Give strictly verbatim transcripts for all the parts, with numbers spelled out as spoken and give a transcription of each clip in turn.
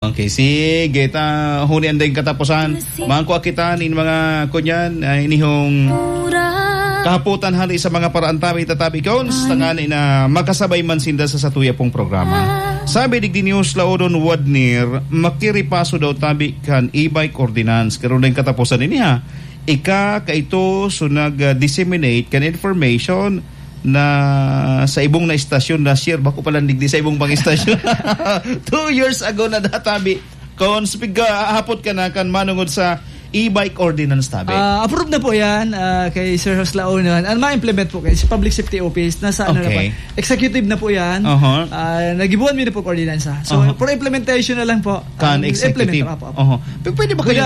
Okay, sige, ta huni ang daing katapusan. Mangkua kita nin mga kunyan, ah, inihong kahapotan hali sa mga paraan tabi, tatabi, Cons, tangani na makasabay man sinda sa satuya pong programa. Sabi digdi ni Huslaonon Wadnir, makiripaso daw tabi kan e-bike ordinance. Karon daing katapusan ini, ha. Ika, kaito, so nag-disseminate kan information na sa ibong na istasyon na share, bako pala digdi sa ibong pang istasyon. Two years ago na databi. Kung speak ka, hapot ka na kan manungod sa e-bike ordinance tabi. Ah, approve na po yan, ah, kay Sir Hoslaonon. Ang ma-implement po kay sa Public Safety Office, nasa ano na po, Okay. executive na po yan. Aha. Ah, nagibuan mi na po ordinansa. So, Aha. for implementation na lang po. Kan Ang executive. implementer, apo, apo. Aha. P-, pwede ba Kaya, kayo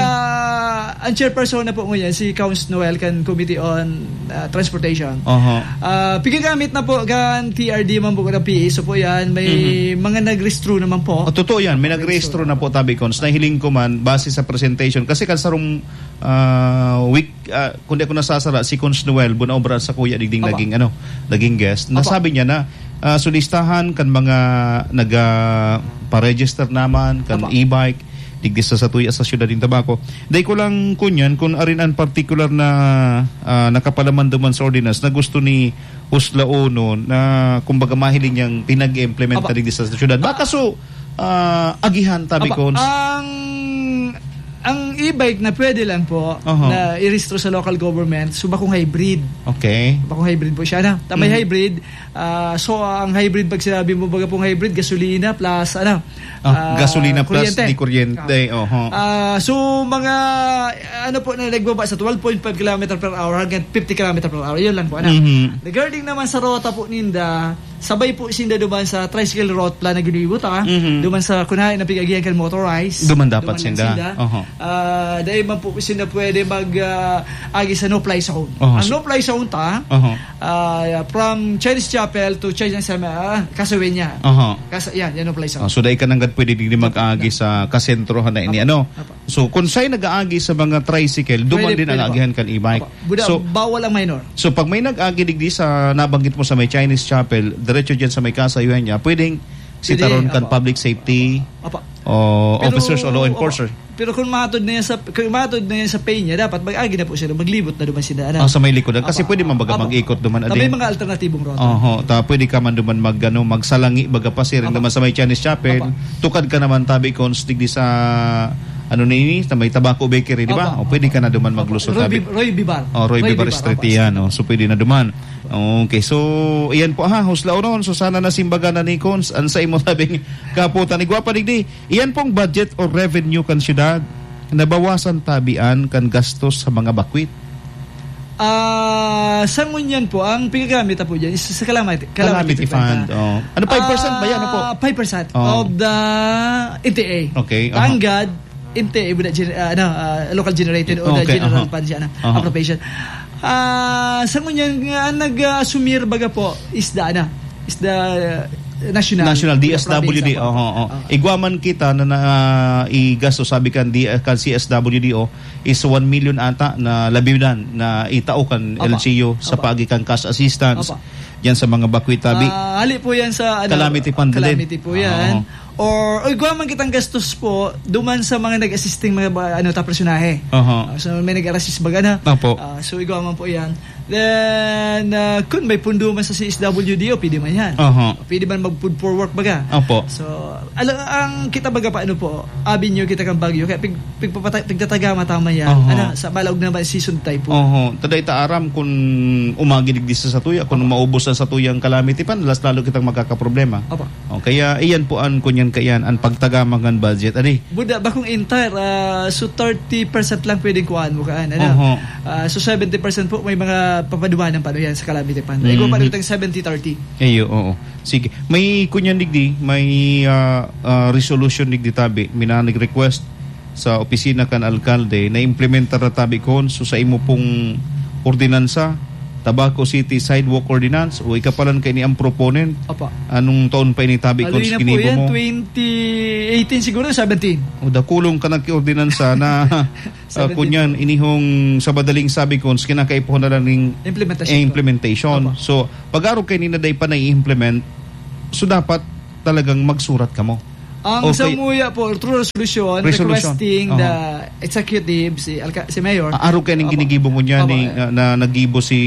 ang chairperson na po ngayon, si Cons Noel, kan Committee on, ah, Transportation. Aha. Ah, pigagamit na po kan T R D man po, kan P A. So po yan, may Mhm. mga nag-rehistro naman po. Oh, totoo yan. May nag-rehistro na po, tabi, Cons. Nahiling ko man, base sa presentation. Kasi kan sarong, ah, week, ah, kung di ako nasasala, si Cons Noel, Bunaobra sa kuya, digding Apa. naging, ano, naging guest. Apa. Nasabi niya na, ah, sulistahan kan mga naga, pa-register naman, kan Apa. e-bike, digdi sa satuya sa siyudad nin Tabaco. Dai ko lang kunyan kung arin ang particular na, ah, nakapalaman duman sa ordinance na gusto ni Uslaonon na, kumbaga, mahiling niyang pinag-implementa Aba. digdi sa siyudad. Baka so, ah, agihan, tabi Aba, ko. ang, ang e-bike na pwede lang po Aha. na irehistro sa local government, so bakong hybrid. Okay. Bakong hybrid po siya na. Tamay Mhm. hybrid, ah, so ang hybrid, pag sinabi mo baga pong hybrid, gasolina plus, ano, Ah, ah, gasolina plus kuryente. di kuryente, Ah. oho. Ah, so mga, ano po na nagbaba sa twelve point five kilometer per hour hanggang fifty kilometer per hour, yun lang po, ano. Mhm. Regarding naman sa rota po ninda, sabay po sinda duman sa tricycle route plan na ginibo ta, Mhm. duman sa kunahay na pig-agihan kan motorized. Duman dapat Duman lang sinda. sinda. Oho. Ah, dahil man po sinda pwede mag, ah, agi sa no-fly zone. Oho, Ang so no-fly zone ta, Oho. ah, from Chinese Chapel to Chinese Cemetery, ah, Casueña. Oho. Kas-, yan, yan no-fly zone. Oh, so dai ka nanggad pwede digdi mag-agi sa kasentrohan na ini, Apo. ano? Apo. So, kung siya'y nag-aagi sa mga tricycle, duman Pwede, din ang pwede po. agihan kan e-bike. Apo. Buda, So, bawal ang minor. so, pag may nag-agi digdi sa nabanggit mo sa may Chinese Chapel, diretso dyan sa may kasayuhan niya, pwedeng Pwede, sitaron kan apo. public safety Apo. o Pero, officers o law apo. enforcer. Pero kung matod na yan sa, kung matod na yan sa Peña, dapat mag-agi na po sila, maglibot na duman sila, ano? Ah, sa may likodan. Kasi Apo. pwede man baga Apo. mag-ikot duman, Tabi ading. mga alternatibong rota. Oho, ta pwede ka man duman mag, ano, magsalangi, baga pasiring Apo. duman sa may Chinese Chapel. Apo. Tukad ka naman, tabi, Cons, digdi sa, ano na ini, sa may Tobacco Bakery, di ba? Apo. O pwede ka na duman Apo. maglusot, Roy tabi. Bi-, Roy Bibar. Oh, Roy Roy Bibar Bibar, Street apo. yan, oh. So pwede na duman. Okay, so iyan po ha, Huslaonon. So sana nasimbagan na ni Cons ang sa imo tabing kaputan. Igwa pa digdi. Iyan pong budget o revenue kan syudad, nabawasan tabian kan gastos sa mga bakwit. Ah, sa ngunyan po, ang pigagamit na po dyan is sa calamity, Calamity calamity fund. fund, oh. Ano, five percent ba yan? Ano po? Ah, five percent Oh. of the N T A. Okay, aha. Thank God, N T A, wala gen-, ah, ano, ah, local generated o the Okay, general aha. fund siya na Aha. appropriation. Ah, sa ngunyan nga, ang nag-asumir baga po is the, ano, is the, uh, national, National, the D S W D, province, oho, oho. Ah. Igwa man kita na, na, ah, igasto, sabi kan D-, kan C S W D O, is one million ata na labidan na itao kan Apa. L G U sa Apa. paagi kan cash assistance Apa. diyan sa mga bakwit tabi. Ah, hali po yan sa, ano, Calamity fund din. calamity po yan. Oo. Or, o, igwa man kitang gastos po, duman sa mga nag-assisting mga ba, ano, ta, personahe. Aha. Ah, so, may nag-assist baga na. Opo. Ah, so, igwa man po yan. Then, ah, kung may pundo man sa C S W D O, pwede man yan. Aha. Pwede man mag-food for work baga. Opo. So, ala-, ang kita baga pa, ano po, avenue kita kang Baguio. Kaya pig-, pigpapata-, pigtatagama tama yan. Aha. Ano, sa balaog na ba, season tayo po. Oho. Tada ita aram kung umagi digdi sa satuya, kung Opo. maubos na satuyang calamity fund, las lalo kitang magkakaproblema. Opo. O, kaya iyan po an kunyan kaiyan, an pagtagama kan budget. Adi? Buda, bakong entire, ah, so thirty percent lang pwedeng kuhaan mo kaan, ano? Oho. Ah, so seventy percent po, may mga papadumanan pa, ano yan, sa calamity fund. Ikaw pa Mhm. rin seventy thirty. Ayo, oo. Sige. May kunyan digdi, may, ah, ah, resolution digdi tabi. Minanig request sa opisina kan alkalde na implementar na tabi kon so sa imo pong ordinansa, Tabaco City Sidewalk Ordinance, o ikapalan kay ni ang proponent? Opo. Anong taon pa ini tabi kon Haloy na po ginibo yan, mo? twenty eighteen siguro, seventeen. O, dakulong ka nagkiordinansa na, ah, Seventeen. kunyan, inihong sa madaling sabi kon, kinakaipuhan na lang ning Implementasyon po. implementation. Opo. So, pag-arog kay ni na day pa nai-implement, so dapat talagang magsurat kamo. Ang Okay. samuya po, through resolution, Resolution. requesting Aha. the executive, si Alca-, si Mayor. Ah, arog kay ning Opo. ginigibo ngunyan Opo, ni, eh. na, na nagibo si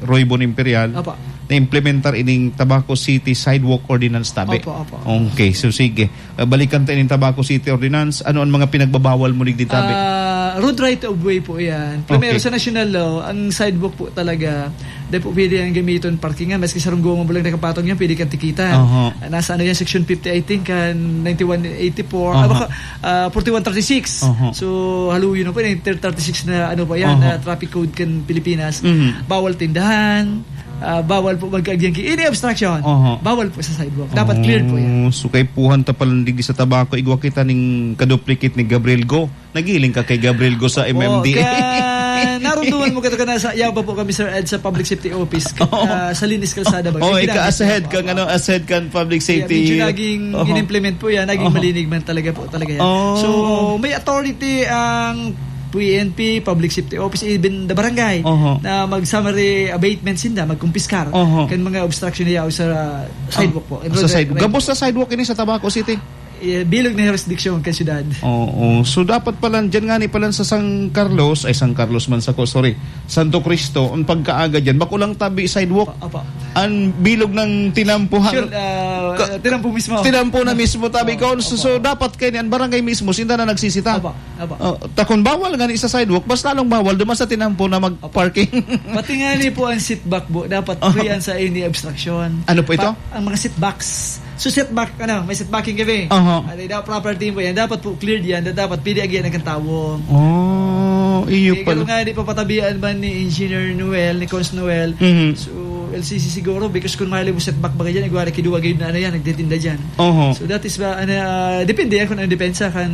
Roy Bon Imperial, Opo. na implementar ining Tabaco City Sidewalk Ordinance, tabi. Opo, opo. Okay, so sige. Ah, balikan ta ining Tabaco City Ordinance. Ano ang mga pinagbabawal mo digdi, tabi? Ah, road right of way po yan. Primero, Okay. sa national law, ang sidewalk po talaga, di po pwede ang gamiton parkingan. Maski sarong goma mo lang nakapatong yan, pwede kang tikitan. Aha. Ah, nasa ano yan, section fifty, I think, kan ninety-one eighty-four. Ah, Aha. baka, ah, forty-one thirty-six. Aha. So, haluyo na po, ninety-one thirty-six na ano pa yan, Aha. na traffic code kan Pilipinas. Mhm. Bawal tindahan, ah, bawal po magkaagyan ki-, any obstruction. Aha. Bawal po sa sidewalk. Dapat clear po yan. Oh, so kaipuhan ta palan digdi sa Tabaco, igwa kita ning kaduplicate ni Gabriel Go. Nagiling ka kay Gabriel Go sa Opo, M M D A. ka-, narunduman mo kita ka nasa, yaw pa po kami, Sir Ed, sa Public Safety Office, ka-, Oo. ah, sa Linis Kalsada ba? Oo, May ika-, ginamit as head po. kang, ano, as head kang Public Yeah, Safety. medyo naging Oho. in-implement po yan, naging Oho. malinig man talaga po, talaga yan. Oh. So, may authority ang P N P, Public Safety Office, even the barangay, Oho. na mag-summary abatement sinda, magkumpiskar Oho. kan mga obstruction na yaw sa sidewalk po. Ah, sa Road sidewalk. right. Gabos na sidewalk ini sa Tabaco City? Eh, bilog na jurisdiction kan syudad. Oo. So, dapat pala, dyan nga ni pala sa San Carlos, ay, San Carlos man sa ko, sorry, Santo Cristo, ang pagkaaga dyan, bako lang tabi sidewalk. Opo, opo. Ang bilog ng tinampuhan. Sure, ah, Ka-, tinampo mismo. tinampo na mismo, tabi Opo, ko. So, opo. so, dapat kayo ni ang barangay mismo, sinda na nagsisita. Opo, opo. Oh, takon bawal nga ni sa sidewalk, mas lalong bawal duman sa tinampo na mag-parking. Opo. Pati nga ni po ang seatback po, dapat Oho. free yan sa any obstruction. Ano po ito? Pa-, ang mga seatbacks. So, setback, ano, may setbacking kami. Aha. Ano, dapat proper din po yan. Dapat po cleared yan. Dapat pwede agihan ng tawo. Oh, iyo Kaya pala. nga, di papatabian man ni Engineer Noel, ni Cons Noel. Mhm. So, L C C siguro, because kung mahali mo setback baga dyan, igwari kiduwa gayud na ano yan, nagtitinda dyan. Oho. So, that is ba, ano, ah, depende yan kung ano depensa kan,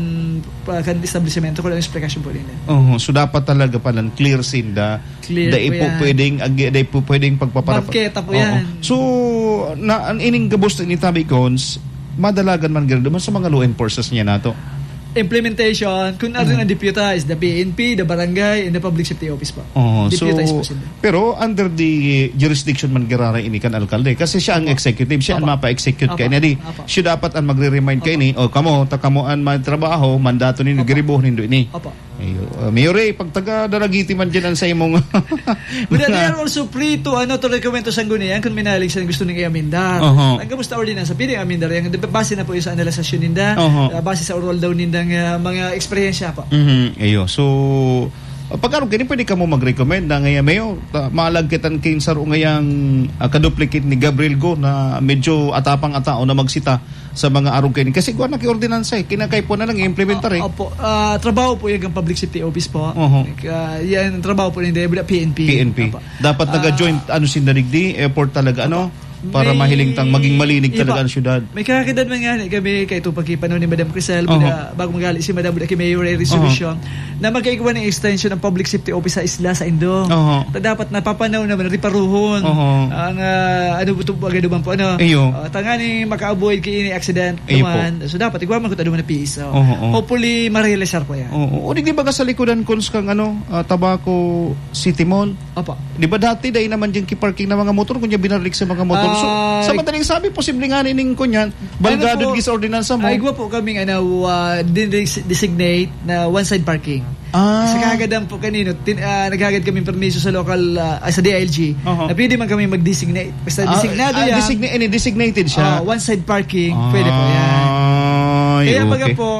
pa, kan establishmento, kung ano explanation po nila. Oho. So, dapat talaga palang clear sinda. Clear Dai po po yan. pwedeng agi-, dai po pwedeng pagpaparap-, Bangketa po Oo. yan. So, na, an ining gabos ni Tabi Cons, madalagan man gano'n naman sa mga law enforcers niya nato. Implementation, kung ano Mhm. ang deputa is the P N P, the barangay, and the public safety office po. Oo, so, Deputized po sila. pero under the jurisdiction man giraray ini kan alkalde. Kasi siya ang Opo. executive, siya ang Opo. mapa-execute Opo. kaya niya di. Opo. Siya dapat ang magre-remind kay Opo. ini, "O, kamo, ta kamo ang may trabaho, mandato ninyo, Opo. giribohon nindo ini." Opo. Ayo, uh, Mayor Ray, pag taga Daragiti man dyan ang sa imong But they mga are also free to, ano, to recommend to Sangguniang kung minalig siya gusto ning i-amendar. Oho. Ang kamusta ordinansa, pwede amendar yan. Base na po yung sa analisasyon ninda, Oho. ah, base sa oral daw nindang, ah, mga eksperyensya po. Mhm, ayo. So, uh, pag ano, kini pwede ka mo mag-recommend na ngayon, Mayor, ta-, maalag kitan kin saro ngayang, ah, kaduplicate ni Gabriel Go na medyo atapang atao na magsita sa mga arog kaini. Kasi kuwan na ki-ordinansa eh. Kinakaipo na lang i-implementar eh. Ah, opo. Ah, trabaho po yan ng Public Safety Office po. Oho. Ah, yan ang trabaho po ninda, P N P. P N P. Opo. Dapat Ah, nag-joint, ano, sinda digdi, effort talaga, ano? Opo. Para May mahiling tang maging malinig Iba. talaga ang syudad. May kakakidan man nga ni kami kay itong pagkipanaw ni Madam Crisel, Oho. buda, bago magali si Madam, buda kay Mayor, ay resolution na magkaigwa ng extension ng Public Safety Office sa isla, sa Indo. Oho. Ta dapat napapanaw naman, riparuhon. Oho. Ang, ah, ano, buto, agad naman po, ano? Iyo. Ah, tangani maka-avoid kay ini accident Iyo po. naman. So, dapat igwa man kung ano man ang piso. Oho, oho. Hopefully, ma-realisar po yan. Oo. O, di, di ba ka sa likodan, Cons, kang, ano, ah, Tabaco City Mall? Opo. Di ba dati, dahil naman dyan kiparking ng mga motor, kunya binarlik sa mga motor. So, Ah, sa madaling sabi, posible nga nining kunyan, Ano balgado po? di sa ordinansa mo. Ay, igwa po kaming, ano, ah, din-, designate na one-side parking. Ah. Sa kagad po kanino, tin-, ah, naghagad kami permiso sa local, ah, ah, sa D I L G, Aha. na pwede man kami mag-designate. Basta Ah, designado ah, yan. designa-, ini, designated siya. Ah, one-side parking, pwede po yan. Ay, Kaya baga okay. po,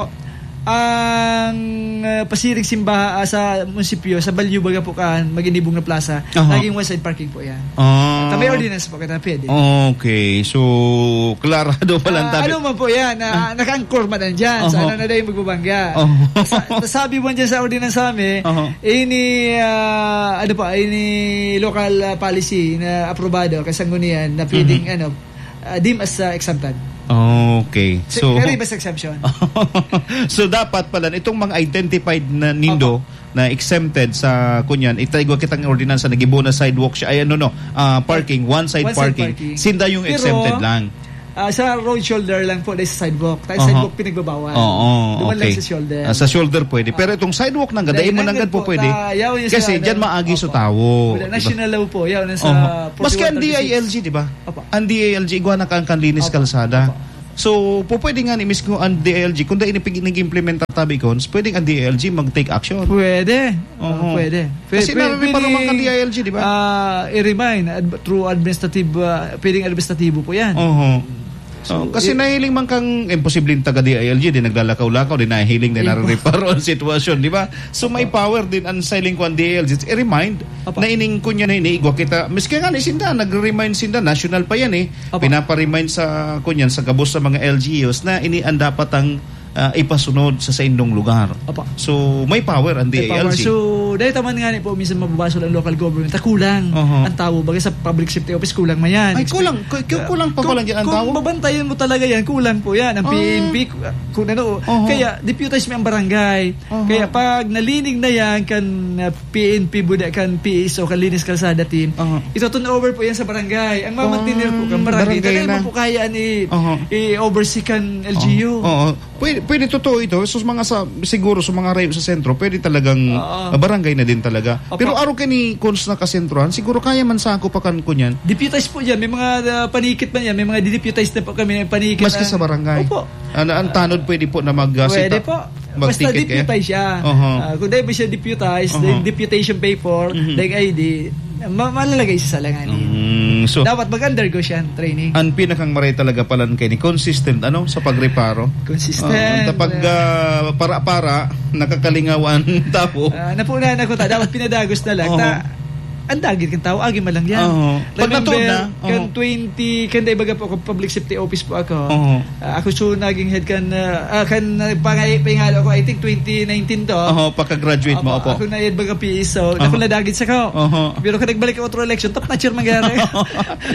ang, ah, pasiring simbaha, ah, sa munisipyo, sa Balyo baga po kaan, Maginibong na Plaza, Aha. naging one-side parking po yan. Ah. Kami ordinance po, kita pwede. Okay, so, klarado pa lang Ah, tabi. ano man po yan, ah, Ah. naka-anchor man yan dyan, sa Aha. ano na daw yung magbabangga. Oh. Sa, sabi mo dyan sa ordinance sa amin, Aha. ini, ah, ano pa, ini local, ah, policy na aprobado, kasanggunian, na pwedeng, Mhm. ano, ah, deem as, ah, exempted. Okay. So, So, pero iba sa exemption. So, dapat pala, itong mga identified na nindo Opo. na exempted sa kunyan, itaigwa kitang ordinansa, nagibo na sidewalk siya, ay, ano, no, ah, parking, one-side One-side parking. parking. Sinda yung Pero, exempted lang. ah, sa road shoulder lang po, dahil sa sidewalk. Tayo Aha. sidewalk pinagbabawal. Oo, Duman lang okay. sa shoulder. Ah, sa shoulder pwede. Pero Ah. itong sidewalk nang gada, Dahil imo nanggad nanggad po pwede. ta-, yaw yung Kasi sa, dyan ano, maagi sa opo. tawo, Wala, di ba? national law po, yaw, nasa Oho. Maski ang forty-one thirty-six. D I L G, di ba? Opo. Ang D I L G, igwa na kang kanlinis Opo. kalsada. Opo. So, po pwede nga ni mismo ang D I L G, kung dahil nag-implementa tabi cons, pwedeng ang D I L G mag-take action. Pwede. Oo. Ah, pwede. Pwe-, Kasi pwe-, nariripa pwede, naman kan D I L G, di ba? ah, i-remind ad-, through administrative, ah, pwedeng administratibo po yan. Oo. So, Oh, kasi i- nahiling man kang imposibleng taga D I L G, di naglalakaw-lakaw, di nahiling, di Impo- narireparo ang sitwasyon, di ba? So, may Opo. power din ang siling kwan D I L G. I-remind Opo. na ining kunya na iniigwa kita. Miski nga ni sinda, nagre-remind sinda, national pa yan eh. Opo. Pinapa-remind sa, kunyan, sa gabos sa mga L G Us na ini ang dapat ang, ah, ipasunod sa saindong lugar. Opo. So, may power ang May power. D I L G. So, dahil taman nga ni po, minsan mababasol ang local government, ta kulang Oho. ang tao. Baga sa public safety office, kulang man yan. Ay, Expe- kulang. Ku-, ku-, Ah, kulang pa kung, pala dyan ang kung tao? babantayan mo talaga yan, kulang po yan. Ang Ah. P N P, ku-, kung ano, Oho. kaya deputize mo ang barangay. Oho. Kaya pag nalinig na yan, kan, ah, P N P buda, kan P S O, kan Linis Kalsada Team, Oho. ito turn over po yan sa barangay. Ang mamantener po, kan Ah, barangay, barangay talaga na. mo po kaya ni Oho. i-oversee kan L G U. Oo. Oo. Pwede, pwede totoo ito. So, sa mga sa, siguro sa mga rayo sa sentro, pwede talagang, Oo. ah, barangay na din talaga. Opo. Pero araw ka ni Cons na kasentrohan, siguro kaya man sa ako pa kan kunyan. Deputize po yan. May mga, ah, panikit man yan. May mga dideputize na po kami. Panikit Maski na. sa barangay. Opo. Ano, ang tanod pwede po na mag, ah, Pwede sita-, po. Basta magtikit kayo? deputize siya. Oho. Ah, kung dahil mo siya deputize, Oho. then deputation paper, Mhm. then I D, ma-, malalagay siya sa langanin. Mm, so, Dapat mag-undergo siya ng training. Ang pinakang maray talaga palan kay ni consistent, ano, sa pagreparo. Consistent. Oo, kapag, ah, para-para, nakakalingawan, tapo. Ah, napunan ako ta, dapat pinadagos na lang. Oho. Ta, ang dagit kan tao, agi man lang yan. Oho. Pag Remember, natuon na, kan oho. twenty, kan dai baga po ako, public safety office po ako. Oho. Ah, ako so naging head kan, ah, ah, kan, ah, pangay-, pangalo ko, I think twenty nineteen to. Oho, pagka-graduate mo, Opo, opo. ako na head baga P S O. Oho. Ako nadagit sa kao. Oho. Pero kung nagbalik ang otro election, top notcher mangyari.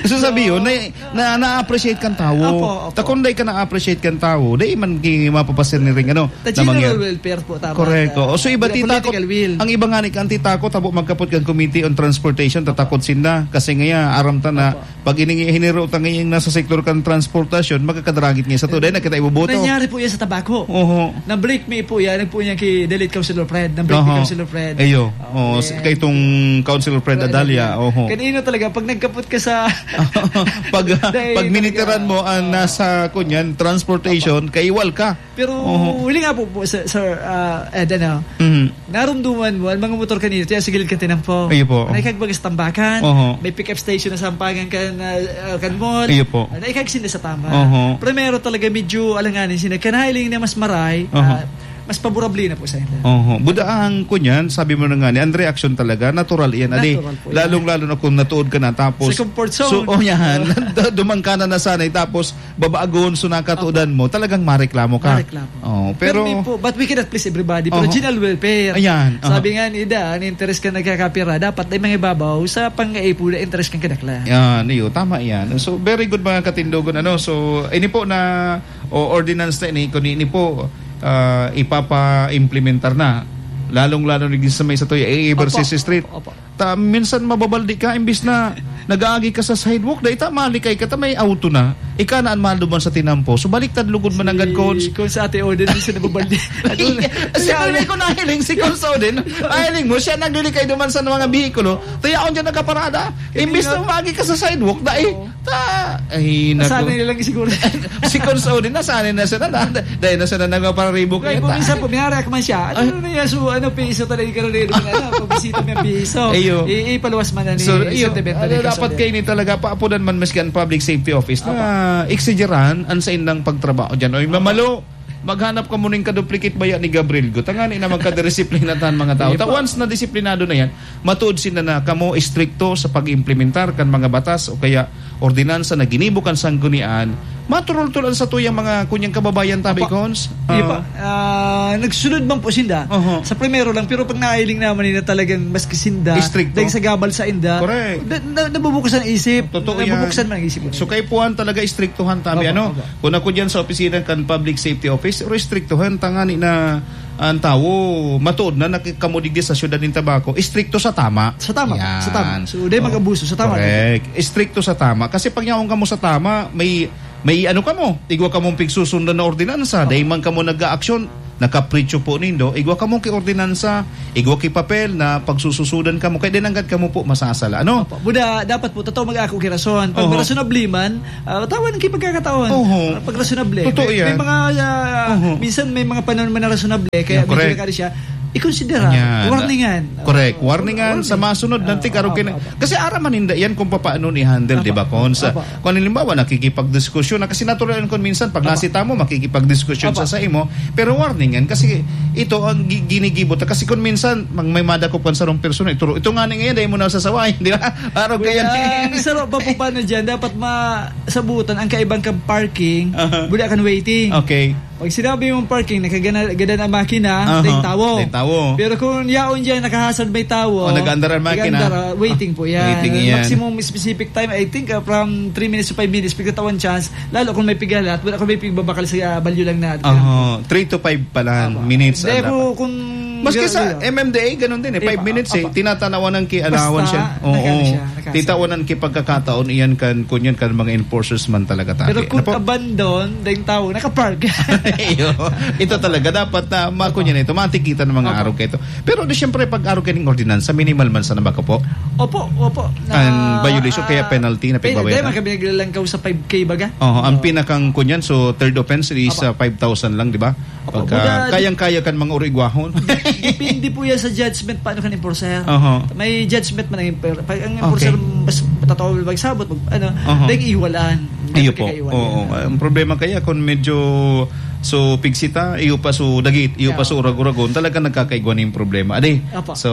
So, sabi So, yun, na, na, na-appreciate kang tao. Opo, opo. Ta kung dai ka na-appreciate kang tao, dai man ki-, mapapasir ni ring ano, Ta na general mangyari. welfare po, tama. Correct, Ta-, oo. So, iba kaya tita ko, political will. ang iba nga ni kanti tako, tabo magkapot kang Committee on Transportation, tatakot sinda. Kasi ngaya, aram ta na, Opo. Pag ini-, hiniro ta ngayong nasa sektor kan transportasyon, magkakadragit niya sa to. Dahil nakita iboboto. Nangyari po yan sa Tabaco. Oho. Na-break me po yan, nagpo niya kay the late Councilor Fred. Na-break me Oho. Councilor Fred. Ayo. Oo, Oo, si, eh. kay itong Councilor Fred Fred Adalia. Adalia. Oho. Kanino talaga, pag nagkapot ka sa Pag, Dahil pag miniteran talaga. mo ang Oo. nasa, kunyan, transportation, Opo. kaiwal ka. Pero Oho. huli nga po, po, sir, sir, ah, Ed, ano, Mhm. narumduman mo, ang mga motor kanina, tiya sa gilid kan tinampo. Ayo po. May kagbagas tambakan, Oho. may pick-up station na sampangan kan, ah, ah, kan mall. Ayo po. Ah, naikagsinda sa tama. Oho. Primero talaga, medyo alanganin sila. Kanahiling na mas maray, Oho. ah, mas paborable na po sa inyo. Oho. Buda ang kunyan, sabi mo na nga ni, ang reaksyon talaga, natural iyan. Adi, Natural po yan. lalong-lalo na kung natuod ka na, tapos Sa comfort zone. So, oh, yan. Duman ka na nasanay, tapos babagon, so nakatuodan Opo. mo, talagang mareklamo ka. Mareklamo. Oo, Pero pero may po, but we cannot please everybody. Pero Oho. general welfare. Ayan, oho. Sabi nga ni Ida, ang interes ka nagkakapira, dapat ay mangibabaw sa pangaipo na interes kang kadaklan. Yan, iyo, tama yan. So, very good, mga katindogon. Ano? So, ini po na, o ordinance na ini, kung ini po, ah, ipapa-implementar na. Lalong-lalo na sa may sa Toya, A A Opo. versus Street. Opo. Ta, minsan mababaldi ka, imbis na nag-aagi ka sa sidewalk, dai ta malikay ka, ta may auto na. Ika na an maduman sa tinampo. So, baliktad lugod man ang Si, gadkons. kung sa Ate Odin, di siya nababaldi. Ano na? Siya, Siya, ano? ko nahiling si Cons Odin. Nahiling mo, siya naglilikay duman sa mga bihikulo. Tayaon dyan nagkaparada. Hindi Imbis na na. umagi ka sa sidewalk, dai. Oo. Ta, ay, naku. Nasanay na lang siguro. Si Cons Odin, nasanay na siya na. Dahil na siya na nagpapararibok Kaya ngayon, kung ta. minsan po, minareact man siya, ano Ay. na yan? So, ano, piso talaga yung karamihan, ano, pagbisita mo yung piso. Ayo. I-, ipaluwas man na ni So, ayo. sentimiento Ano, ni dapat Kasolid. kayo ni talaga, paapudan man maski ang public safety office, na Apa. exigeran ang sa indang pagtrabaho dyan. Oy, mamalo, maghanap ka muna yung kaduplicate baya ni Gabriel Gu. Tangani na magkadisiplina tan mga tao. Sige Ta po. once na disiplinado na yan, matuod sila na kamo istrikto sa pag-implementar kan mga batas o kaya ordinansa na ginibo kan sanggunian, maturultulan sa tuyang mga kunyang kababayan, tabi, Opo. Cons? Iyo po. Ah. Ah, nagsunod man po sinda. Oho. Sa primero lang, pero pag nailing naman nila talagang maski sinda, Istrikto. dahil sa gabal sa inda, Correct. na, na, nabubuksan ang isip. Totoo yan. Nabubuksan man ang isip. So, kay Puan talaga istriktuhan, tabi, Opo, ano? opo. Kung ako dyan sa opisina kan Public Safety Office, restriktuhan, tangani na ang tawo, matuod na, nakikamudigdi sa syudad ng Tabaco, istrikto sa tama. Sa tama, Yan. sa tama. So, dahil Oo. mag-abuso, sa tama. Correct. Istrikto sa tama. Kasi pag yaon ka mo sa tama, may, may ano ka mo, igwa ka mong pigsusundan na ordinansa, Tama. dahil man ka mo nag-aaksyon, nakapritsyo po nindo, igwa kamo ki ordinansa, igwa ki papel na pagsususudan kamo, kaya di nanggad kamo po masasala, ano? Opo. Buda, dapat po, totoo mag-ako ki rason. Pag Oho. Rason na bliman, ah, tawan ang kipagkakataon. Oho. Ah, pag rason na bli. Totoo May, may yan. mga, ah, Oho. minsan may mga panahon man na rason na bli, kaya Yeah, medyo correct. nakari siya. Ikonsidera, Yan. warningan. Correct. Oo, Warningan sa warning. masunod na Ah, tig-arog opo, kina-, opo. kasi araman ninda yan kung papaano ni-handle, Opo. di ba, Cons? Opo. Kung halimbawa, nakikipagdiskusyon na, kasi natural yun kung minsan, pag Opo. nasita mo, makikipagdiskusyon Opo. sa, sa imo, pero warningan, kasi ito ang gi-, ginigibo ta. Kasi kung minsan, mang-, may madakop kan sarong persona, ito, ito nga ni ngayon, dahil mo na sasaway, di ba? Arog kaya Well, ang sarap pa po paano dyan, dapat ma-, sabutan ang kaibang kang parking, Aha. buli akan waiting. Okay. Pag sinabi mong parking, nakagana-, gadan ang makina, Aha. dahil tawo. Dahil tawo. Pero kung yaon dyan, nakahasad may tawo, O, nag-aandar ang makina. nag-aandar, ah, waiting po yan. Waiting yan. Maximum specific time, I think, ah, from three minutes to five minutes, pagkatawan chance, lalo kung may pigalat, wala kung may pigbabakal sa, ah, balyo lang na. Aha. Three to five pala Apo. minutes Hindi, ang kung, dapat. kung Maski sa gano'n, gano'n. M M D A, ganun din eh. Five Iba, minutes eh. apa. Tinatanawan ng ki-, allowance Basta, yan. Oo. nagkano siya, nagkano siya. Titawanan ki pagkakataon iyan kan, kun yan kan mga enforcers man talaga tabi. Pero kung Ano po? abandon, dahil tao, nakapark. Iyo. Ito talaga, dapat na, ma-, kun yan ito, matikitan ng mga Opo. arog ka ito. Pero di siyempre, pag arog ka ng ordinansa, minimal man sana ba ka po? Opo, opo. Ang Na, violation, kaya ah, penalty na pe-, pigbabayaran? dahil man kami naglalangkaw sa five K baga. Oo, ang Oo. pinakang kun yan, so third offense is, Opo. ah, five thousand lang, di ba? Opo, Pagka buda, kayang-kaya kan mga urigwahon. Depende po yan sa judgment, paano kan enforcer. Aha. May judgment man ang enfor-, pag ang enforcer Okay. mas matatawal magsabot, mag-, ano, Aha. dahil iwalaan. Iyo Dahil po. kaiwalaan. Oo. Ang problema kaya kung medyo so pigsita, iyo pa so dagit, iyo pa Yeah. so urag-uragon, talaga nagkakaigwa na yung problema. Adi. Opo. So,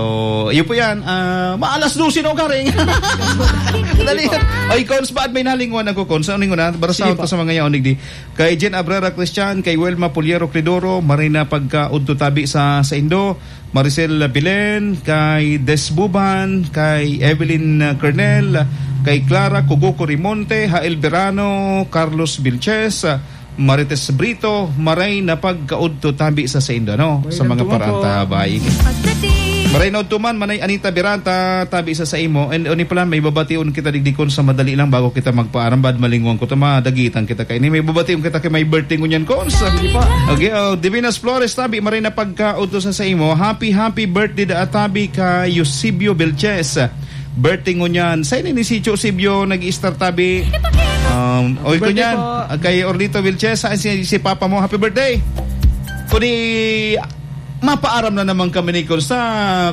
iyo po yan. Ah, maalas dose na, Karing. Dali. Oy, Cons, ba't may nalingwan ako, Cons? Ano yung una? Barasahon Sige po. ko sa mga yaon, digdi. Kay Jen Abrera Christian, kay Wilma Puliero Cridoro, maray na pagkaudto tabi sa saindo, Maricel Bilen, kay Des Buban, kay Evelyn Kernel, kay Clara Kuguko Rimonte, Hael Verano, Carlos Vilches, Marites Brito, maray na pagkaudto tabi sa saindo, no? Maray Sa na mga tuman po. paranta, bay. Maray na udto man, Manay Anita Berata, tabi sa saimo. And, oni pala, may babation kita digdi, Cons, sa madali lang bago kita magpaaram. Bad malingwan ko to, madagitan kita kaini. May babation kita kay may birthday ngunyan, Cons. Sige po. Okay, oh, Divinas Flores, tabi, maray na pagkaudto sa saimo. Happy, happy birthday da, tabi, kay Eusebio Vilches. Birthday ngunyan. Sa ini ni si Eusebio nag-i-star tabi. Um, oy, Birthday kunyan, po. ah, kay Orlito Vilches, sa si, si papa mo, happy birthday. Kuni mapaaram na naman kami ni Cons. Sa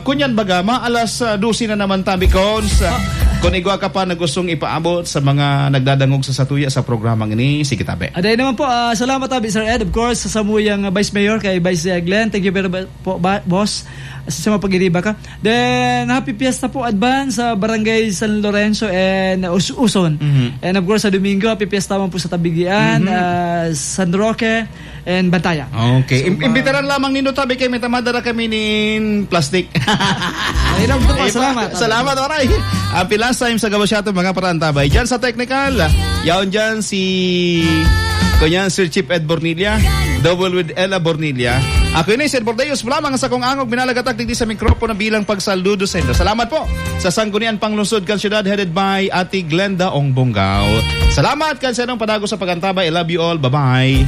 kunyan baga, maalas, ah, dose na naman tabi, Cons. Ah. Kung igwa ka pa na gustong ipaabot sa mga nagdadangog sa satuya sa programang ini, sige tabi. Aday naman po, ah, salamat tabi, Sir Ed. Of course, sa samuyang, ah, Vice Mayor, kay Vice, ah, Glenn. Thank you very much po, ba-, boss. Sa mga pag-iriba ka. Then, happy fiesta po, advance, sa Barangay San Lorenzo and Us-, Uson. Mhm. And of course, sa Domingo, happy fiesta man po sa Tabigian, Mhm. ah, San Roque, and Bantayan. Okay. So, Im-, ah, imbitaran lamang nindo tabi kay may tamadara kami nin plastic. Ay, lang po, Eh, salamat. salamat, oray. Happy last time sa gabos siya itong mga parantabay. Diyan sa technical, yaon diyan si, kunyan, Sir Chief Ed Bornilla, double with Ella Bornilla. Ako ini, Sir Bordeos, mula mga sakong angog, minalagatak digdi sa mikropono bilang pagsaludo sa inyo. Salamat po sa Sanggunian Panglungsod kan Siyudad, headed by Ate Glenda Ong Bongao. Salamat kan sa inong padago sa pag-antabay. I love you all. Bye-bye.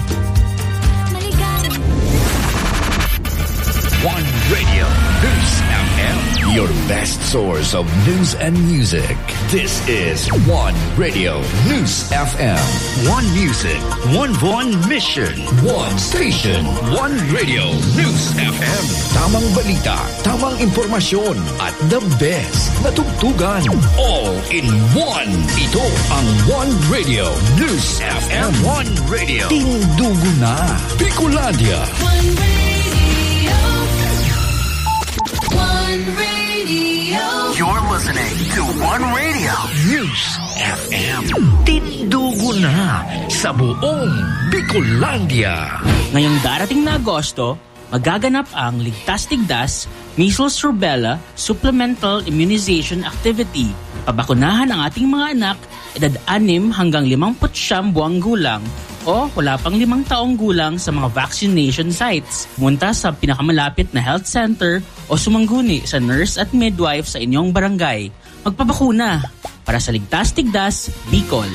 One Radio News F M, your best source of news and music. This is One Radio News F M. One music, one, one mission. One station, one radio, News F M. Tamang balita, tamang impormasyon, at the best na tugtugan. All in one. Ito ang One Radio News F M. One Radio. Tindugo na, Bicolandia. One Radio. One Radio. You're listening to One Radio News F M. Tindugo na sa buong Bicolandia. Ngayong darating na Agosto, magaganap ang Ligtas Tigdas Measles Rubella Supplemental Immunization Activity. Pabakunahan ang ating mga anak, edad anim hanggang limampu't siyam buwang gulang o wala pang limang taong gulang sa mga vaccination sites. Pumunta sa pinakamalapit na health center o sumangguni sa nurse at midwife sa inyong barangay. Magpabakuna para sa Ligtas Tigdas, Bicol.